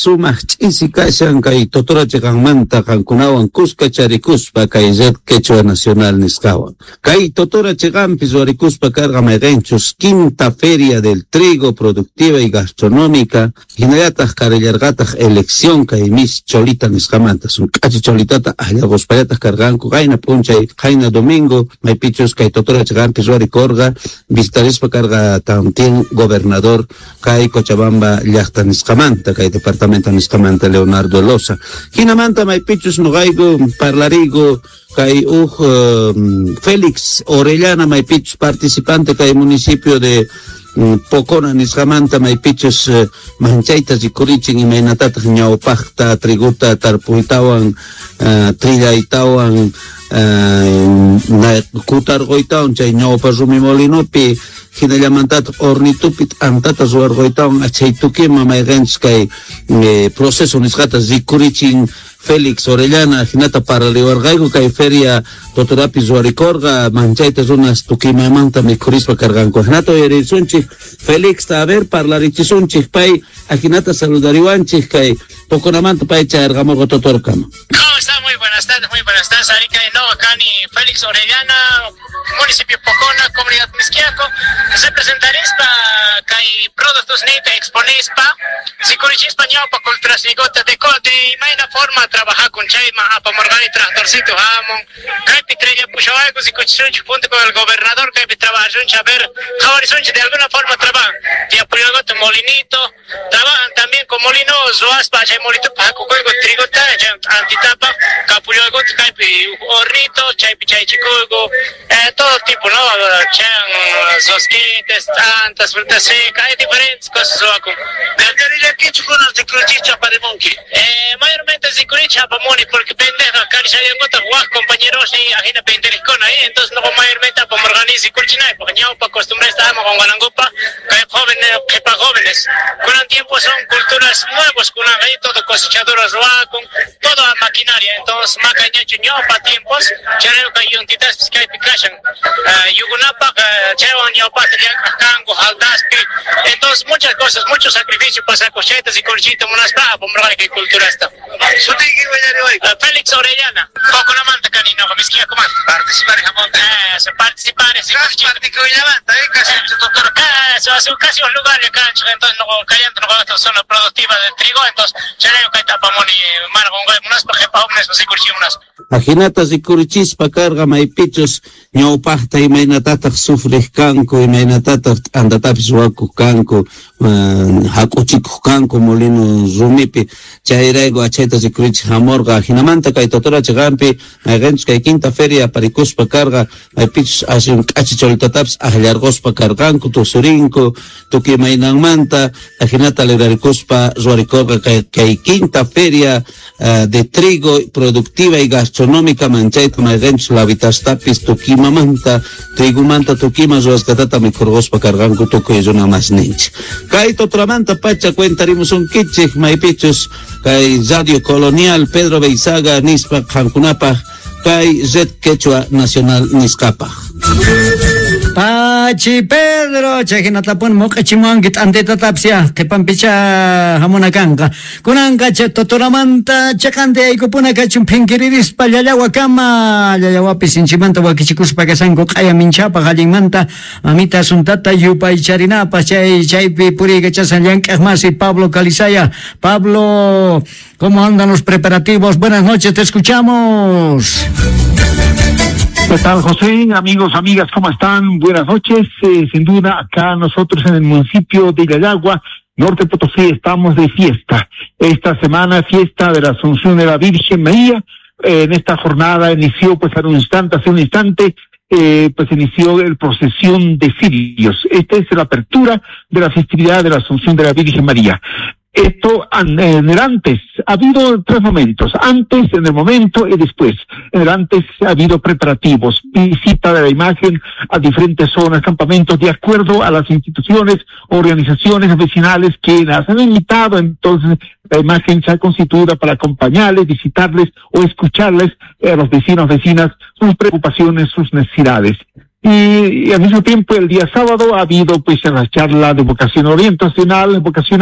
Sumaq ch'isi kashan kay Totora chiqanmanta qankunawan kuska charikuspa kay Red Quechua Nacional nisqawan. Kay Totora chiqanpi ruwarikuspa karqa mayqinchus quinta Feria del Trigo Productiva y Gastronómica, hinallataq karillarqataq elección kay Miss Cholita nisqamanta. Sun k'achi cholitata akllaquspallataq karqanku qayna p'unchay, qayna domingo, maypichus kay Totora chiqanpi ruwarikurqa, visitarispa karqa también gobernador kay Cochabamba llaqta nisqamanta, kay departamento nisqamanta Leonardo Loza. Hinamanta maypichus noqayku parlariyku kay uj Félix Orellana maypichus participante kay municipio de Pocona nisqamanta maypichus manchayta rikurichin imaynatataq ñawpaqta triguta tarpuytawan trillaytawan kutarquytawan chay ñawpa rumi molinopi hinallamantataq hornitupi t'antata ruwarquytawan achay tukima mayqinchus kay proceso nisqata rikurichin Félix Orellana hinata parariwarqayku kay feria Totorapi ruwarikurqa manchayta runas tukimamanta mikhurispa karqanku. Hinata uyarisunchik Félixta, a ver, parlarichisunchik pay ajinata saludariwanchik kay Poconamanta pay chayarqamurqa Totorkama. ¿Cómo está? Muy buenas tardes, muy buenas tardes. Arica de nuevo acá ni Félix Orellana, municipio Pocona, comunidad Misquiaco. Representarispa kay productos nita exponispa, sikurichispa ñawpa culturas nigota de de imayna forma trabajar con chayma apamorgani tractorcito jamon, kaypi trella pushawaku sikuchisunchik junto con el gobernador kaypi trabajasunchik a ver, jawarisunchik de alguna forma trabajan. Tiapuyalgoto molinito, trabajan también con molino ruaspa chay molito pajakukuyku trigota chay antitapa, kapuyalgoto kaypi hornito, chaypi chaychikuyku, todo tipo, ¿no? Chan, rosquites, tantas frutas secas, hay diferentes cosas ruakun. Mayormente rikurichi apamuni porque pendeja karishayankuta waj compañeros y ajina penderijkuna ahí, entonces no mayormente apamorgani rikurichinay, porque ñawpa costumbre estábamos con Guanangupa, que jóvenes, qhipa jóvenes, con el tiempo son culturas nuevas, con ahí todo cosechadoras ruakun, toda maquinaria, entonces macañachu ñawpa tiempos, chareo kayuntitas kaypi kashan, yugunapaq chaywan ñawpata llank'aq kanku jaldaspi, entonces muchas cosas, mucho sacrificio pasa cosetas y corchito munaspa apamorgani kay culturasta. Félix Orellana, Poconamanta kanino, Misquiacomanta. Participar jamonte. Participar, sí, Casi casi casi un lugar de cancha, entonces no cayendo no zona productiva de trigo, entonces chareo kay tapamuni margongoy munaspa jepa hombres rikurchi munaspa. Ajinata rikurichispa karqa maypichus ñawpaqta imaynatataq sufriq kanku, imaynatataq t'antatapis ruwakuq kanku, hak'uchikuq kanku molino rumipi, chayrayku achayta rikurichik hamurqa. Jinamanta kay Totora chiqanpi mayqinchus kay quinta feria aparikuspa karqa maypichus aswan k'achi cholitatapis akllarquspa karqanku tusurinku tukuy imaynanmanta ajinata librarikuspa ruwarikurqa kay quinta feria de trigo productiva y gastronómica manchayta mayqinchus lavitastapis tukimamanta trigomanta tukima ruwasqatata mikhurquspa karqanku tukuy runa masninchik. Kay Totoramanta pacha cuentarimusunkichik maypichus kay Radio Colonial Pedro Beizaga nispa qankunapaq kay Red Quechua Nacional nisqapaq. Pachi Pedro, chay hinatapun muq'ichimuwanki t'antitatapis ya, qhipanpicha hamuna kanqa. Kunanqa chay Totoramanta chaqanta yaykupuna kachun phinkiririspa llallawakama, llallawapi sinchimanta wakichikuspa kashanku q'aya minchapaq allinmanta mamita asuntata yupaycharinapaq chay chaypi puriykachasan llank'aq masi Pablo Calizaya. Pablo, ¿cómo andan los preparativos? Buenas noches, te escuchamos. ¿Qué tal, José? Amigos, amigas, ¿cómo están? Buenas noches. Sin duda, acá nosotros en el municipio de Llallagua, Norte Potosí, estamos de fiesta. Esta semana, fiesta de la Asunción de la Virgen María. En esta jornada inició, pues, hace un instante, pues inició el procesión de cirios. Esta es la apertura de la festividad de la Asunción de la Virgen María. Esto en el antes, ha habido tres momentos, antes, en el momento y después. En el antes ha habido preparativos, visita de la imagen a diferentes zonas, campamentos, de acuerdo a las instituciones, organizaciones vecinales que las han invitado. Entonces la imagen se ha constituido para acompañarles, visitarles o escucharles a los vecinos, vecinas, sus preocupaciones, sus necesidades. Y al mismo tiempo el día sábado ha habido pues la charla de vocación orientacional, vocacional.